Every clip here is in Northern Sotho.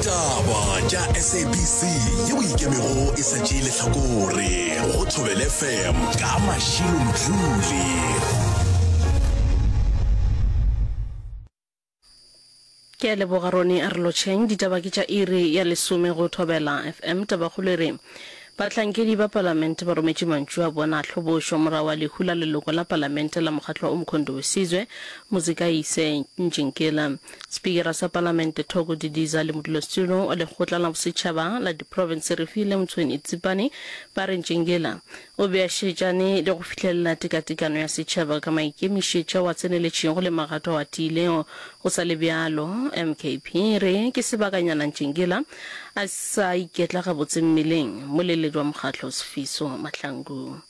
Ditaba tša SABC yeo e ikemego e sa tšee lehlakore go Thobela FM ka Mashilo Mdluli. Ke a leboga Roni a re lotšheng. Ditaba ke tša iri ya lesome go Thobela FM. Tabakgolo e re Bahlankedi ba Palamente ba rometše mantšu a bona a hlobošo morago ga lehu la leloko la Palamente la mokgatlo wa Umkhonto we Sizwe, Muzikayise Njinkila. Spikara sa Palamente Thoko Didiza le modulasetulo wa Lekgotla la Bosetšhaba la Diprofense Refilwe Mtsweni Tsipane ba re Ntjingila o be a šetšane le go fihlelela tekatekano ya setšhaba ka maikemišetšo ao a tseneletšego le magato ao a tiilego. Go sa le bjalo, MKP e re ke sebakanyana Ntjingila a sa iketla gabotse mmeleng, moleledi wa mokgatlo Sifiso Mahlangu.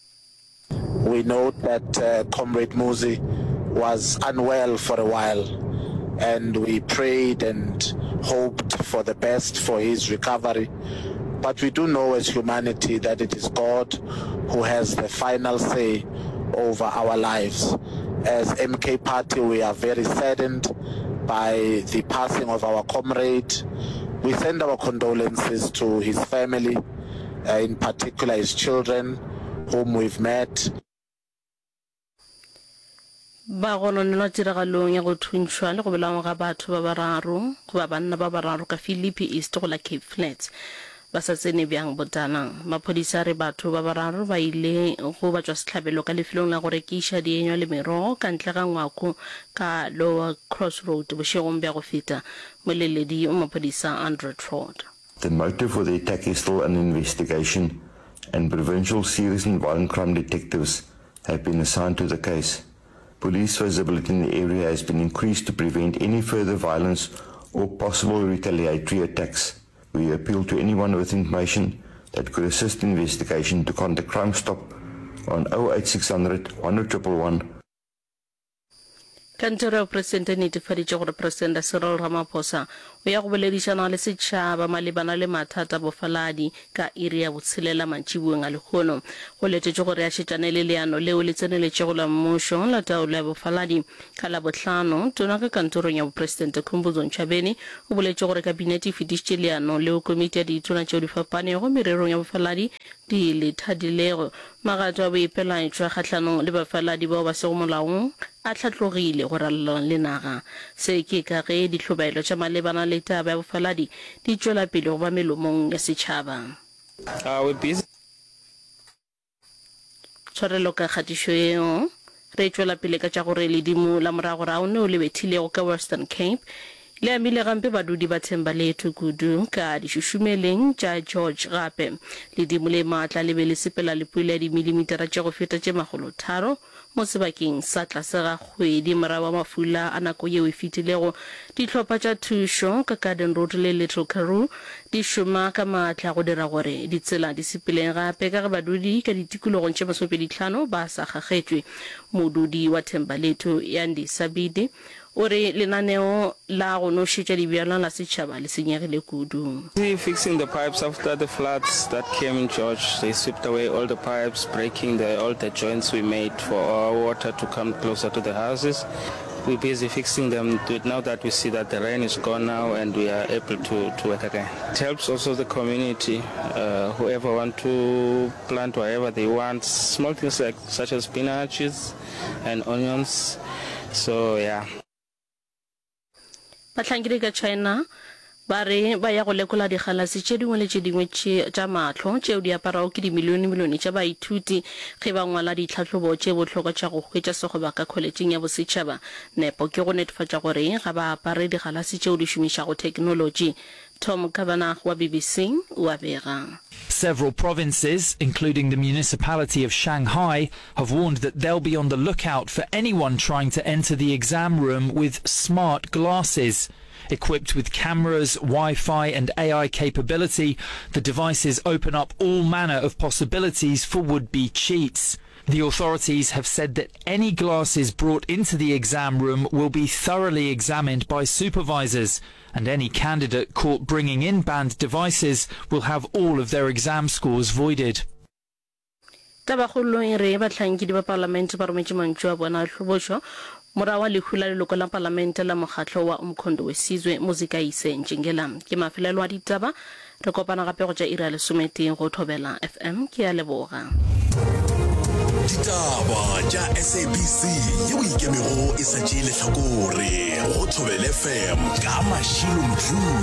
We note that Comrade Muzi was unwell for a while and we prayed and hoped for the best for his recovery but we do know as humanity that it is God who has the final say over our lives. As MK Party we are very saddened by the passing of our comrade. We send our condolences to his family, in particular his children whom we've met. Ba gononelwa tiragalong ya go thuntšhwa le go bolawa ga batho ba bararo goba banna ba bararo ka Philippi East go la Cape Flats. Ba sa tsene bjang botala. Maphodisa a re batho ba bararo ba ile go batšwasehlabelo ka lefelong la go rekiša dienywa le merogo ka ntle ga ngwako ka Lower Crossroad bošegong bja go feta. Moleledi wa maphodisa Andre Trott. The motive for the attack is still under investigation and provincial serious and violent crime detectives have been assigned to the case. Police visibility in the area has been increased to prevent any further violence or possible retaliatory attacks. We appeal to anyone with information that could assist investigation to contact Crime Stop on 08600 10111. Kantoro ya Bopresidente e netefaditše gore Presidente Cyril Ramaphosa o ya go boledišana le setšhaba malebana le mathata a bofaladi ka iri ya botshelela mantšiboeng a lehono. Go letetšwe gore a šetšane le leano leo le tseneletšego la mmušo la taolo ya bofaladi Ka Labohlano, Tona ka kantorong ya Bopresidente Khumbudzo Ntshavheni o boletše gore Kabinete e fetišitše leano leo komiti ya ditona tšeo di fapanego mererong ya bofaladi di le thadilego. Magato a boipelaetšo a kgahlanong le bafaladi bao ba sego molaong a hlatlogile go ralala le naga. Se ke ka ge dihlobaelo tša malebana le taba ya bofaladi di tšwela pele go ba melomong ya setšhaba. Tshwarelo ka kgatišo yeo. Re tšwela pele ka tša gore ledimo la moragorago neo le bethilego ka Western Cape le amile gampe badudi ba Thembalethu kudu ka dišušumeleng tša George gape. Ledimo le maatla le be le sepela le pula ya dimilimitara tše go feta tše makgolotharo mo sebakeng sa tlase ga kgwedi morago ga mafula a nako yeo e fetilego. Dihlopha tša thušo ka Garden Road le Little Karoo di šoma ka maatla go dira gore ditsela di sepele gape ka ge badudi ka ditikologong tše masomepeditlhano ba sa kgakgetšwe. Modudi wa Thembalethu, Yandi Sabidi, o re lenaneo la go nošetša dibjalwa la setšhaba le senyegile kudu. Busy fixing the pipes after the floods that came in George, they swept away all the pipes, breaking the all the joints we made for our water to come closer to the houses. We're busy fixing them now that we see that the rain is gone now and we are able to, to work again. It helps also the community, uh, whoever want to plant whatever they want, small things like such as spinaches and onions. So yeah. Bahlankedi ka China ba re ba ya go lekola digalase tše dingwe le tše dingwe tša mahlo tšeo di aparago ke dimilionemilione tša baithuti ge ba ngwala ditlhahlobo tše bohlokwa tša go hwetša sekgoba ka kholetšeng ya bosetšhaba. Nepo ke go netefatša gore ga ba apare digalase tšeo di šomišago theknolotši. Tom Kavanagh wa BBC o a bega. Several provinces, including the municipality of Shanghai, have warned that they'll be on the lookout for anyone trying to enter the exam room with smart glasses. Equipped with cameras, Wi-Fi and AI capability, the devices open up all manner of possibilities for would-be cheats. The authorities have said that any glasses brought into the exam room will be thoroughly examined by supervisors and any candidate caught bringing in banned devices will have all of their exam scores voided. Tabakgolo e re bahlankedi ba palamente ba rometše mantšu a bona a hlobošo Morago ga lehu la leloko la palamente la mokgatlo wa Umkhonto we Sizwe, Muzikayise Ntšingela. Ke mafelelo a ditaba. Re kopana gape go tša iri ya lesometee go Thobela FM. Ke a leboga. Ditaba tša SABC yeo e ikemego e sa tšee lehlakore go Thobela FM ka Mashilo Mdluli.